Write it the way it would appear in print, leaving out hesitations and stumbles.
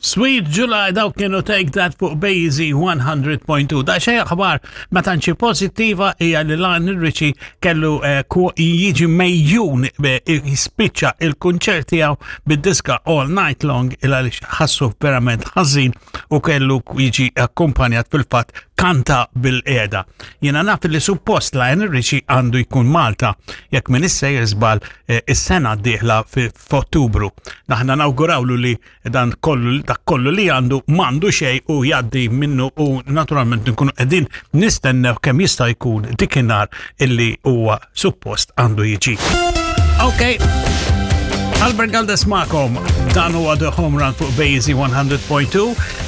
Sweet July dawk kienu Take That fuq Bazy 100.2. Da xej aħbar ma tantx pożittiva hija li Lionel Richie kellu eh, jiġi mejjun eh, jispiċċa il-kunċert tiegħu bid-diska All Night Long il għaliex ħassu verament ħażin u kellu jiġi akkumpanjat fil-fatt kanta bil-qiegħda. Jiena naf li suppost Lionel Richie għandu jkun Malta jekk minn issa żball eh, is-sena d-dieħla f'Ottubru. Naħna nawgurawlu li dan kollu dak kollu li għandu m'għandu xejn u jgħaddi minnu u naturalment nkunu qegħdin nistennew kemm jista' jkun dikinhar illi huwa suppost għandu jiġi. Ok. Albert Galdes magħkom dan huwa The Home Run fuq Bazy 100.2.